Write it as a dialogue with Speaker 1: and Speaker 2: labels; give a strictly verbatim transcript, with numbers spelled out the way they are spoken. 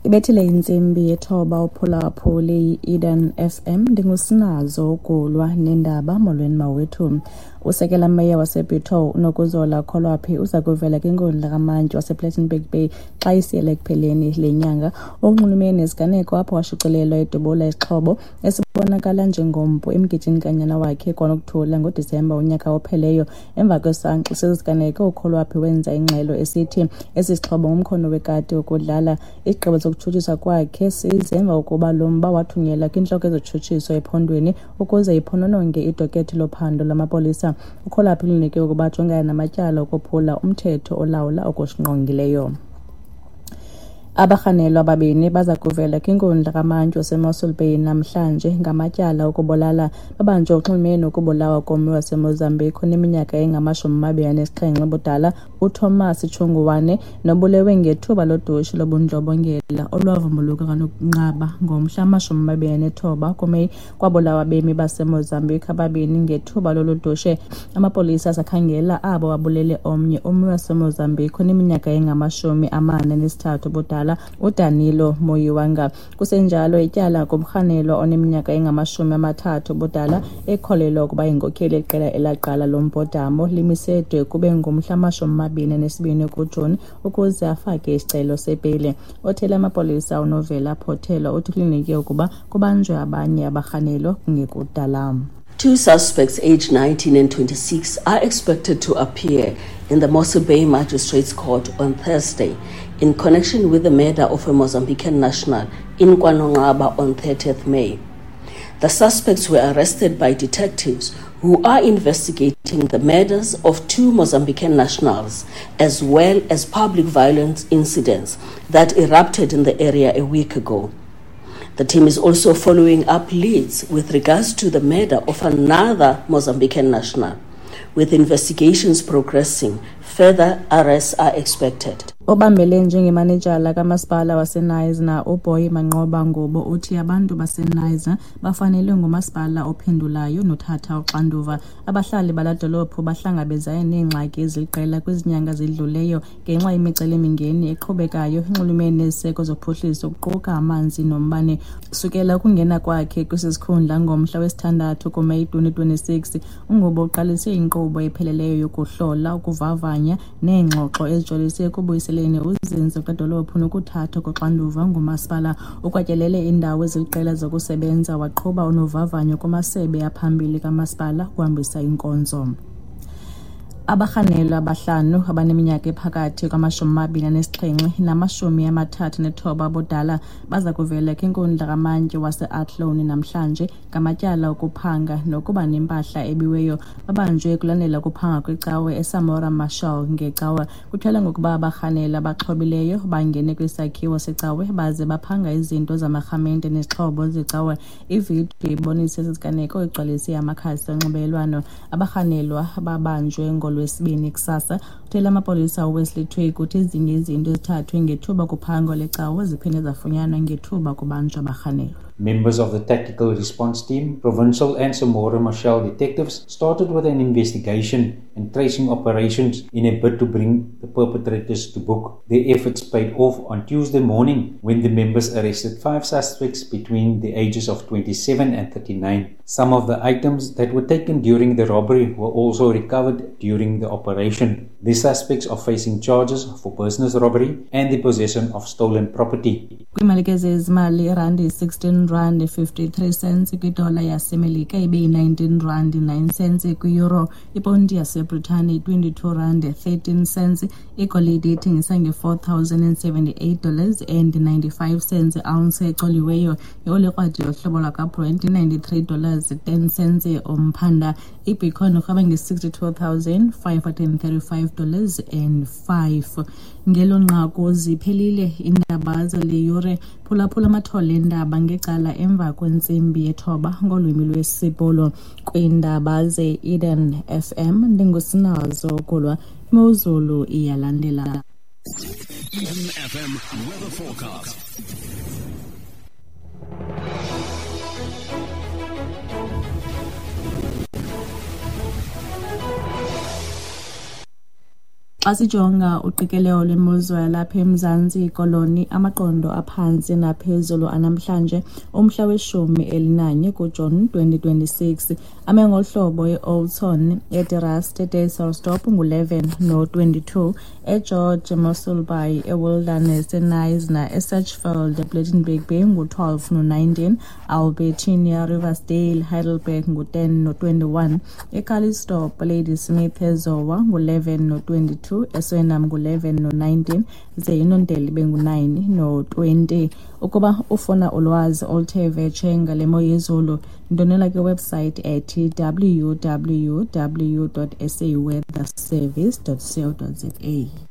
Speaker 1: Ibethile intsimbi yethoba uphulaphuli i-Eden F M. Ndingusinazo ukulwa nendaba. Molweni mawethu. Usekela meya waseBitou uNokuzola Kholwaphi uza kuvela kwinkundla kamantyi wasePlettenberg Bay xa isiyela ekupheleni le nyanga. Okunxulumene nesiganeko apho washicilelwa edubula isixhobo esibonakala njengompu emgidini kanyana wakhe kwaNokuthula ngoDisemba unyaka opheleyo. Emva kwesankxu sesiganeko uKholwaphi wenza ingxelo esithi esi sixhobo ngumkhono wekati wokudlala. Isigqibo sokutshutshiswa kwakhe size emva kokuba lo mba wathunyelwa kwintloko yezotshutshiso ephondweni ukuze iphonononge idokethi lophando lwamapolisa. uKholwaphi ulindeleke ukuba ajongane namatyala okuphula umthetho olawula okusingqongileyo. Abarhanelwa ababini baza kuvela kwinkundla kamantyi waseMossel Bay namhlanje ngamatyala okubulala. Babanjwe uxhumene nokubulawa kommi waseMozambique oneminyaka engamashumi amabini anesixhenxe ubudala uThomas Tshunguwane nobulewe ngethuba lodushe lobundlobongela olwavumbuluka kwaNonqaba ngomhla wamashumi amabini anethoba kuMeyi. Kwabulawa abemi baseMozambique ababini ngethuba lolu dushe. Amapolisa asakhangela abo babulele omnye ummi waseMozambique oneminyaka engamashumi amane anesithathu ubudala uDanilo Moyiwanga. Kusenjalo ityala kumrhanelwa oneminyaka engamashumi amathathu ubudala ekholelwa ukuba yinkokheli yeqela elaqala lo mbhodamo limisedwe kube ngumhla amashumi amabini anesibini kuJuni ukuze afake isicelo sebheyile. Othele amapolisa uNovela Photelo uthi kulindeleke ukuba kubanjwe abanye abarhanelwa kungekudala.
Speaker 2: Two suspects aged nineteen and twenty-six are expected to appear in the Mossel Bay Magistrates Court on Thursday in connection with the murder of a Mozambican national in KwaNonqaba on thirtieth May. The suspects were arrested by detectives who are investigating the murders of two Mozambican nationals as well as public violence incidents that erupted in the area a week ago. The team is also following up leads with regards to the murder of another Mozambican national. With investigations progressing, further arrests are expected.
Speaker 1: Obambele njengemanejala kamasipala waseKnysna uBoy Manqoba Ngubo uthi abantu baseKnysna bafanelwe ngumasipala ophendulayo nothatha uxanduva. Abahlali bala dolophu bahlangabezane neengxaki eziliqela kwizinyanga zidluleyo ngenxa yemicelimingeni eqhubekayo enxulumene neziseko zophuhliso kuquka amanzi nombane. Sukela ukungena kwakhe kwesi sikhundla ngomhla wesithandathu kuMeyi twenty twenty-six, uNgubo uqalise inkqubo epheleleyo yokuhlola, ukuvavanya neengxoxo ezijolise ekubuyiseleni uzinzo kwedolophu nokuthathwa koxanduva ngumasipala. Ukwatyelele iindawo eziliqela zokusebenza waqhuba unovavanyo kumasebe aphambili kamasipala ukuhambisa inkonzo. Abarhanelwa abahlanu abaneminyaka ephakathi kwamashumi amabini anesixhenxe namashumi amathathu nethoba abudala baza kuvela kwinkundla kamantyi waseAthlone namhlanje ngamatyala okuphanga nokuba nempahla ebiweyo. Babanjwe kulandela ukuphanga kwicawe eSamora Machel ngecawa. Kutyholwa ngokuba abarhanelwa abaxhobileyo bangene kwisakhiwo secawe baze baphanga izinto zamarhamente nezixhobo zecawe. Ividiyo ibonise esi siganeko igcwalise amakhasi onxibelelwano. Abarhanelwa babanjwe ngolwesibini kusasa. Uthele amapolisa uWesley Twig uthi ezinye izinto ezithathwe ngethuba kuphango lecawe ziphinde zafunyanwa ngethuba kubanjwa abarhanelwa.
Speaker 3: Members of the Tactical Response Team, Provincial and Samora Machel detectives started with an investigation and tracing operations in a bid to bring the perpetrators to book. Their efforts paid off on Tuesday morning when the members arrested five suspects between the ages of twenty-seven and thirty-nine. Some of the items that were taken during the robbery were also recovered during the operation. The suspects are facing charges for business robbery and the possession of stolen property.
Speaker 1: Kwiimalike zezimali irandi sixteen rand fifty-three cents kwidola yaseMelika ibe yi-nineteen rand nine cents kwi-euro, iponti yaseBritane twenty-two rand thirteen cents, igolide ithengisa nge-four thousand and seventy-eight dollars and ninety-five cents ounce ecoliweyo, ioli krwadi yohlobo lwakwaBrent ninety-three dollars ten cents umphanda, ibitcoin irhweba nge-sixty-two thousand five hundred and thirty-five dollars and five. Ngelo nqaku ziphelile iindaba zale yure. Phulaphula amathole eendaba ngecala emva kwentsimbi yethoba ngolwimi lwesiBhulu. Kwiindaba ze-Eden F M ndingusinazo Kulwa. Imozulu iyalandela.
Speaker 4: Eden F M weather forecast.
Speaker 1: Xa sijonga uqikelelo lwemozulu yalapha eMzantsi Koloni, amaqondo aphantsi naphezulu anamhlanje umhla weshumi elinanye kuJuni twenty twenty-six ame ngolu hlobo: eOudtshoorn, eDe Rust, eDysselsdorp ngu-eleven no-twenty-two, eGeorge, eMossel Bay, eWilderness, eKnysna, eSachsfield, ePlettenberg Bay ngu-twelve no-nineteen, Albertina, Riversdale, Heidelberg ngu-ten no-twenty-one, eCalitzdorp, Ladysmith, eZowa ngu-eleven no-twenty-two, eSwellnum ngu-eleven no-nineteen, ze iNondeli ibe ngu-nine no-twenty. Ukuba ufuna ulwazi oluthe vetshe ngale mo yezulu, ndonela kwiwebsite ethi w w w dot s a weather service dot co dot z a.